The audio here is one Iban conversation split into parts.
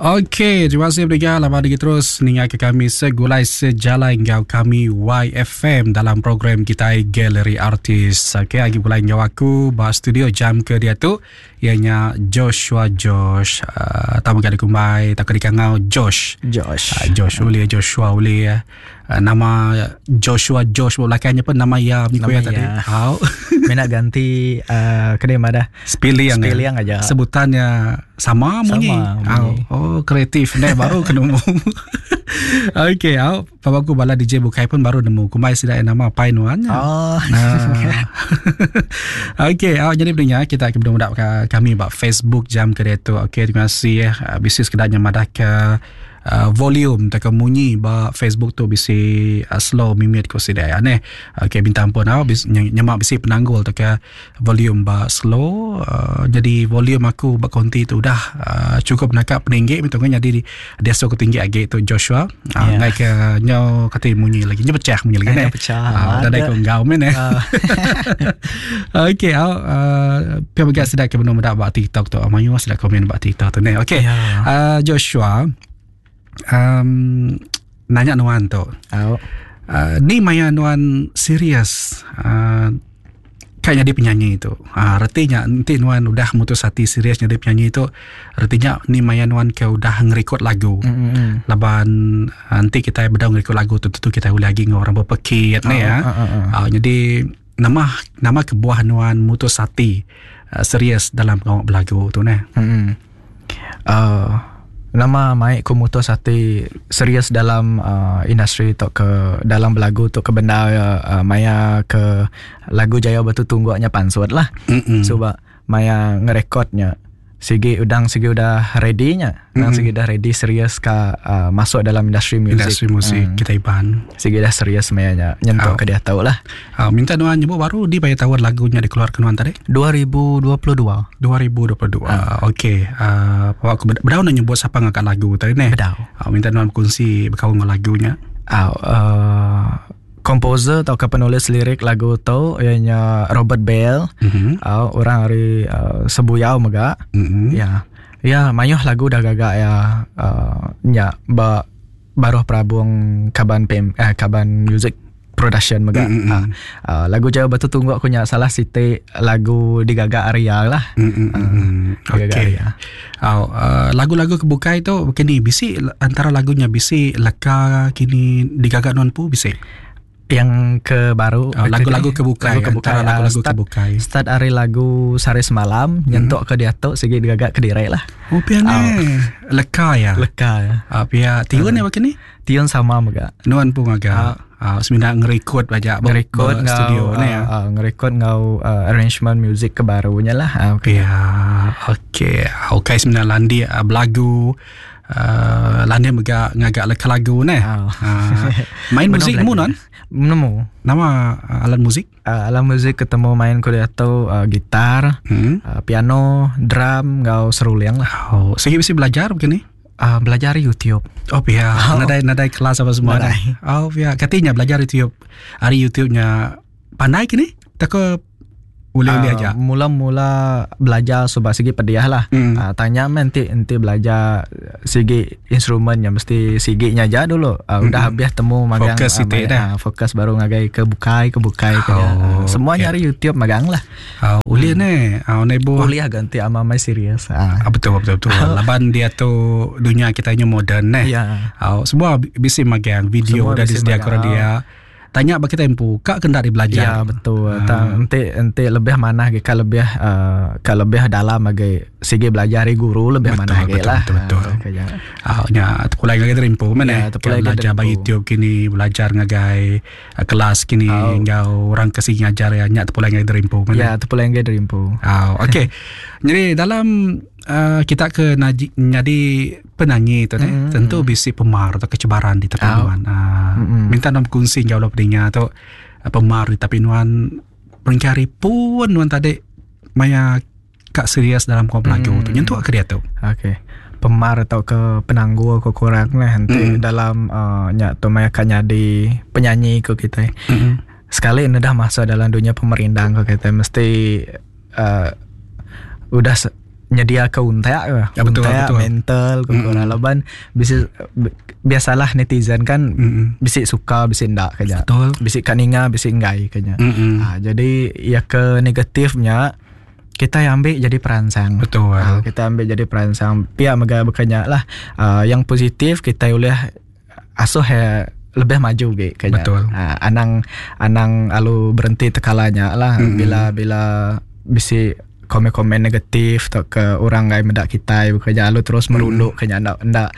Okey, terima kasih beriga lama lagi terus ninga ke kami segulai sejalai enggau kami YFM dalam program kita Galeri Artis. Okey, agi pulai enggau aku ba studio jam ke dia tu ianya Joshua Josh. Uh, tamu gadi kumbai tak dikangau Josh. Josh. Uh, Josh uli Joshua uli. Uh, nama Joshua Josh belakangnya pun nama ya Nama ya tadi. Au. Mina ganti uh, kena madah. Spiliang. Spiliang aja. Sebutannya sama munyi. Sama munyi. Oh, kreatif ne baru kena nemu. Okey, au. Papa aku bala DJ bukai pun baru nemu. Kumbai sida nama pai nuan. Oh. Nah. Okey, au jadi pendengar kita akan bermudak kami ba Facebook jam ke tu. Okey, terima kasih eh. Bisi sekedar madah ke uh, volume tak munyi ba Facebook tu bisi uh, slow mimit ko sida ya neh. Okey minta ampun au bis, nyemak bisi penanggul tak ke volume ba slow uh, jadi volume aku ba konti tu udah uh, cukup nakap peninggi minta jadi dia so tinggi agi tu Joshua. Uh, yeah. Ngai ke nyo kata munyi lagi. Nyo pecah munyi lagi neh. Pecah. Uh, dah ko ngau men eh. Okey au uh, pia bagai sedap ke benar medak ba TikTok tu. Mayu sedap komen ba TikTok tu neh. Okey. Yeah. Uh, Joshua um, nanya nuan tu. Au. Uh, ni maya nuan serius uh, kayak jadi penyanyi tu. Uh, artinya nanti nuan udah mutus hati serius jadi penyanyi tu, artinya ni maya nuan ke udah ngerekod lagu. Mm-hmm. Laban nanti kita bedau ngerekod lagu tu tentu kita boleh lagi dengan orang berpekit ni ya. Jadi nama nama kebuah nuan mutus hati uh, serius dalam pengawak belagu tu ne. Mm-hmm. Nama mai ku mutus hati serius dalam uh, industri tu ke dalam belagu tu ke benda uh, maya ke lagu Jaya Batu Tungguknya pansut lah. Mm-mm. So ba maya ngerekodnya sigi udang sigi udah ready nya. Udang sigi udah ready serius ka uh, masuk dalam industri muzik. Industri muzik kita Iban. Sigi dah serius maya nya nyentuk ke dia tahu lah. Minta nuan nyebut baru di bayar tahun lagunya dikeluarkan nuan tadi? 2022. 2022. Okey. Uh, aku bedau nak nyebut siapa ngangkat lagu tadi ni. Bedau. Minta nuan berkongsi berkawan dengan lagunya. Komposer atau ke penulis lirik lagu tu ianya Robert Bell. Mm-hmm. Orang dari Sebuyau mega. Mm-hmm. Ya. Ya, mayuh lagu dah gagak ya nya ba baruh Prabung Kaban PM Kaban Music Production mega. Mm-hmm. Lagu Jaya Batu Tunggu aku nya salah siti lagu digagak Arya lah. Mm-hmm. Digagak Okey. Arya. Lagu-lagu kebukai tu kini bisi antara lagunya bisi leka kini digagak non pu bisi. Yang ke baru lagu-lagu kebukai, lagu kebukai, antara lagu-lagu start, kebukai. Start hari lagu sehari semalam nyentuk ke dia tu sigi digagak ke dirai lah. Oh piane leka ya. Leka ya. Pia tiun ya kini? Tiun sama mega. Nuan pun agak semina ngerekod aja ngerekod studio ni ya. Ngerekod ngau arrangement music ke barunya lah. Okay. Ya, okey. Okey semina landi belagu landi mega ngagak leka lagu ne. Main muzik nemu non? Nemu. Nama alat muzik? Alat muzik ketemu main ku dia tu gitar, piano, drum, ngau seruling lah. Oh, segi mesti belajar begini? Belajar YouTube. Oh ya, nadai nadai kelas apa semua. Nadai. Oh ya, katanya belajar YouTube. Hari YouTube-nya pandai kini? Tak ke boleh-boleh aja. Mula-mula belajar sebab segi pediah lah. Tanya nanti nanti belajar segi instrumennya mesti seginya aja dulu. Udah habis temu magang fokus uh, dah. Fokus baru ngagai ke bukai ke bukai ke. Semuanya hari YouTube magang lah. Uliah ne, nebo. Uliah ganti ama mai serius. Betul betul betul. Laban dia tu dunia kita nya moden ne. Ya. Semua bisi magang video dah disediakan dia. Tanya bagi kita empu, kak kena di belajar. Ya betul. Ente ente lebih mana ke lebih ke lebih dalam bagi segi belajar dari guru lebih betul, mana betul, lah. Betul betul. Nya terpulai lagi dari empu mana? Ya, terpulai belajar bagi YouTube kini, belajar ngagai kelas kini, ngau orang ke sini ngajar ya, nya terpulai lagi dari empu mana? Ya, terpulai lagi dari empu. Okey. Jadi dalam kita ke jadi penyanyi tu ne, tentu bisi pemar atau kecebaran di tepi nuan. Minta nom kongsi jauh lebih pendengar tu pemar di tepi nuan pencari pun nuan tadi maya kak serius dalam kau belagu tu nyentuh ke dia tu. Okey. Pemar atau ke penangguh ke kurang lah nanti dalam nyak tu maya kak jadi penyanyi ke kita. Sekali ini dah masuk dalam dunia pemerindang ke kita mesti udah nyedia ke untak ke. Ya, betul, untak betul. mental ke mm -hmm. laban bisi biasalah netizen kan mm -hmm. bisi suka bisi ndak kenya. Betul. Bisi ka ninga bisi enggai kenya. Mm -hmm. Ha, jadi ya ke negatifnya kita yang ambil jadi perangsang. Betul. Ha, kita ambil jadi perangsang. Pihak mega bekanya lah uh, yang positif kita boleh asuh ya lebih maju ge kenya. Betul. Ha, anang anang alu berhenti tekalanya lah Mm-mm. bila bila bisi komen-komen negatif atau ke orang ngai medak kita bekerja alu terus merunduk kenya ndak ndak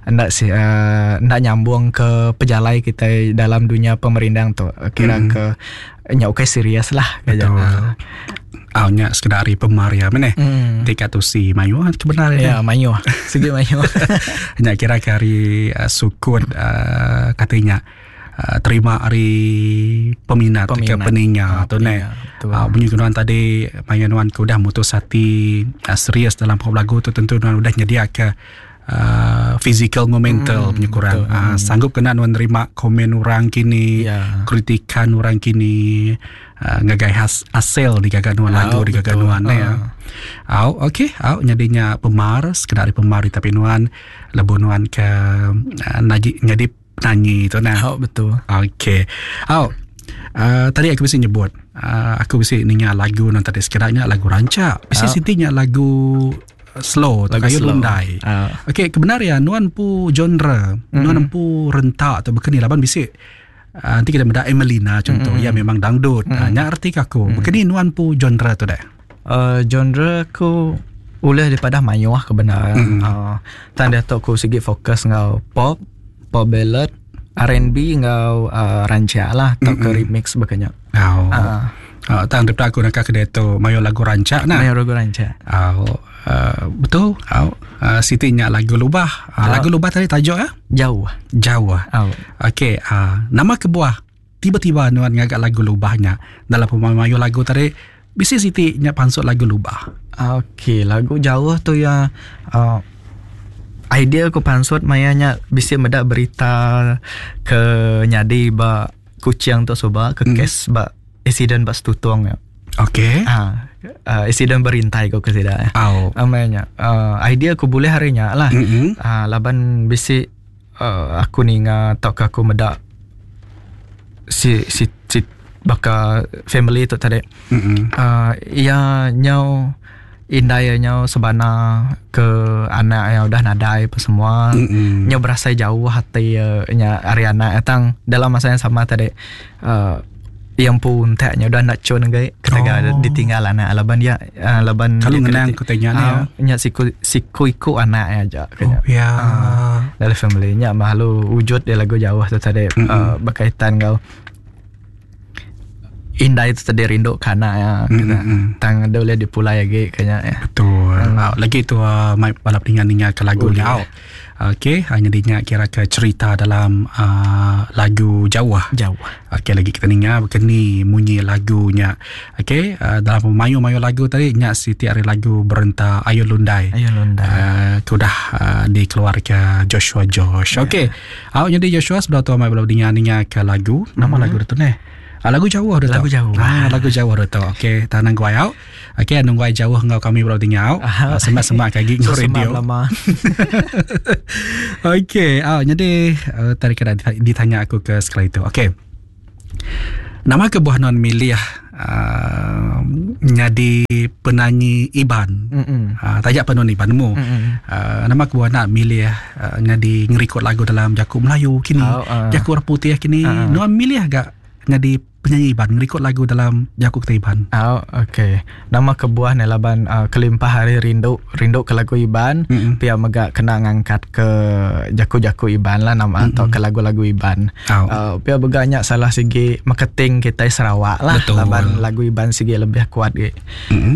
ndak si uh, ndak nyambung ke pejalai kita dalam dunia pemerindang tu kira Mm. ke nya okey serius lah kenya. Betul. Ah, nya sekedar hari pemar ya meneh. Tika tu si mayu ah, kebenaran Ya, mayu. Segi mayu. Nya kira ke hari uh, sukun uh, katanya uh, terima hari peminat, ke Peminat. peninga Ah, tu ne. peninga, betul. Uh, bunyi nuan tadi maya nuan ke udah mutus hati uh, serius dalam pop lagu tu tentu nuan udah nyedia ke uh, physical ngau mental punya kurang. betul. Uh, sanggup kena nuan nerima komen orang kini, Ya. kritikan orang kini uh, ngagai has, hasil digaga nuan Ah, lagu digaga betul. nuan ne. Ah. Au okey, au nyadinya pemar sekedar pemar tapi nuan lebu nuan ke uh, naji nyadi penyanyi tu nah. Oh, betul. Okey. Au tadi aku mesti nyebut aku mesti ninga lagu nan tadi sekiranya lagu rancak. Mesti Au. sitinya lagu slow atau Lagu kayu slow. lundai. Ah. Okey, kebenaran nuan pu genre, mm-hmm. nuan pu rentak atau bekeni laban bisik. Nanti kita mendak Emelina contoh, mm-hmm. ya memang dangdut. Mm-hmm. Nya arti ke aku. Mm-hmm. Bekeni nuan pu genre tu dah. Genre aku ulih daripada mayuh kebenaran. Mm. Tang dia tu aku segi fokus ngau pop, pop ballad, R&B ngau rancak lah atau ke remix bekanya. Oh. Ah. Tang daripada aku nak ke tu mayo lagu rancak nah. Mayuh lagu rancak. Oh, betul. Oh, Siti nya lagu lubah. Lagu lubah tadi tajuk ya? Jauh. Jauh. Oh. Okey, nama kebuah tiba-tiba nuan ngagak lagu lubahnya dalam pemayu lagu tadi bisi Siti nya pansut lagu lubah. Okey, lagu jauh tu ya idea aku pansut mayanya bisi medak berita ke nyadi ba kucing tu soba ke kes ba insiden ba stutung ya. Okey. Ah, insiden berintai ko ke sida ya. Au. Amanya idea aku boleh harinya lah. Mm-mm. Laban bisi aku ninga atau ke aku medak si si si baka family tu tadi. Mm-mm. Ia nyau indai nyau sebana ke anak yang udah nadai apa semua. Mm-mm. Nyau berasa jauh hati nya ari anak tang dalam masa yang sama tadi yang pun taknya udah nak cun gai ketika Oh. ditinggal anak laban dia laban Kalau dia ngenang kena- ku tanya ni, ya. nya siku siku iku anak aja Oh, kena. ya. Dalam family nya malu wujud dia lagu jauh tu tadi berkaitan kau Indai tu tadi rindu ke anak ya. Kena. Tang dia boleh dipulai lagi kayaknya ya. Betul. Lagi tu mai balap ninga-ninga ke lagu Boleh. ni. Au. Okey, hanya dinya kira ke cerita dalam lagu jauh. Jauh. Okey, lagi kita ninga berkeni munyi lagunya. Okey, dalam mayu-mayu lagu tadi nya Siti ari lagu berenta Ayu Lundai. Ayu Lundai. Ke udah dikeluarkan Joshua Josh. Okey. Awak jadi Joshua sebelah tu mai belum ninga-ninga ke lagu. Nama lagu tu ni. Lagu jauh dah Lagu jauh. Lagu jauh dah tu. Okey, tanang gua au. Okey, nunggu ai jauh ngau kami belum tinggal. Semak-semak kaki So, ngau semak radio. lama. Okey, jadi tadi kena ditanya aku ke sekali itu. Okey. Nama kebuah non milih jadi penyanyi Iban. Mm-mm. Tajak penon Iban mu. Mm-mm. Nama kebuah nak milih jadi ngerekod lagu dalam Jakub Melayu kini. Oh, Jakub orang putih kini. Non milih agak jadi penyanyi Iban ngerekod lagu dalam Jakub kita Iban. Oh, okey. Nama kebuah ni laban kelimpah hari rindu rindu ke lagu Iban, Mm-mm. pia mega kena ngangkat ke jaku-jaku Iban lah nama atau ke lagu-lagu Iban. Oh. Pia beganya salah segi marketing kita Sarawak lah. Betul. Laban lagu Iban segi lebih kuat ge. Mm-mm.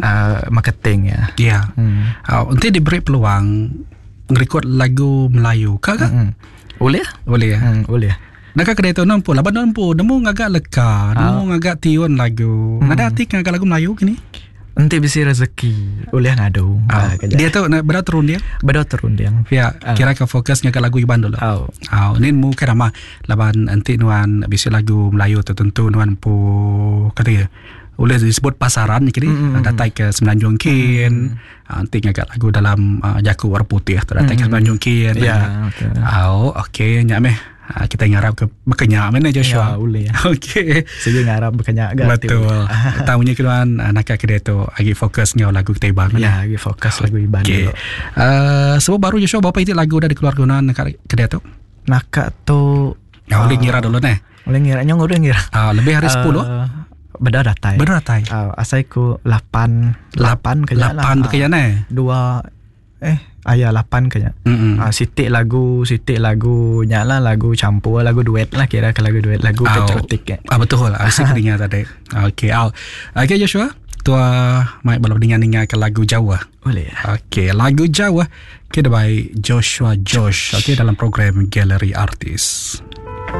Marketing ya. Ya. Hmm. Nanti diberi peluang ngerekod lagu Melayu. Kak kak? Boleh? Boleh ya? Boleh. Nak kedai tu nampu, laban nampu, nemu ngagak leka, nemu ngagak tiun lagu. Nada hati ngagak lagu Melayu kini. Nanti bisi rezeki boleh ngadu. Ah, dia tu nak berapa turun dia? Bedo terunding. Ya, kira ke fokus ngagak lagu Iban dulu. Oh. Ah, ni mu kan ramah laban nanti nuan bisi lagu Melayu tertentu nuan pu kata ya. Ulih disebut pasaran ni kini mm-hmm. datai ke Semenanjung kin mm-hmm. enti ngaga lagu dalam uh, jaku orang putih tu datai mm-hmm. ke Semenanjung kin. Ya, yeah, okay. Oh, okey nya meh. Uh, kita ngarap ke bekenya meh Joshua. Ya, boleh. Okey. Sigi ngarap bekenya ga. Betul. Tahu nya keluan nak ke dia tu agi fokus ngau lagu kita Iban. Ya, agi fokus lagu Iban okay. dulu. Uh, sebab baru Joshua berapa itu lagu dah dikeluarkan nak ke dia tu? Naka tu Ya, boleh ngira dulu neh. Boleh ngira, nyong udah ngira. Uh, lebih hari 10. Uh, beda datai. Beda datai. Uh, asai ku 8 8 kaya lah. 8 kaya neh. Dua eh ayah 8 kaya. Mm-hmm. Uh, sitik lagu, sitik lagu nyala lagu campur, lagu duet lah kira ke lagu duet, lagu oh. patriotik ya. Ah betul, asik dengar tadi. Okey, au. Okey Joshua, tua mai balap dengar-dengar ke lagu Jawa. Boleh. Okey, lagu Jawa kita by Joshua Josh. Okey dalam program Galeri Artis.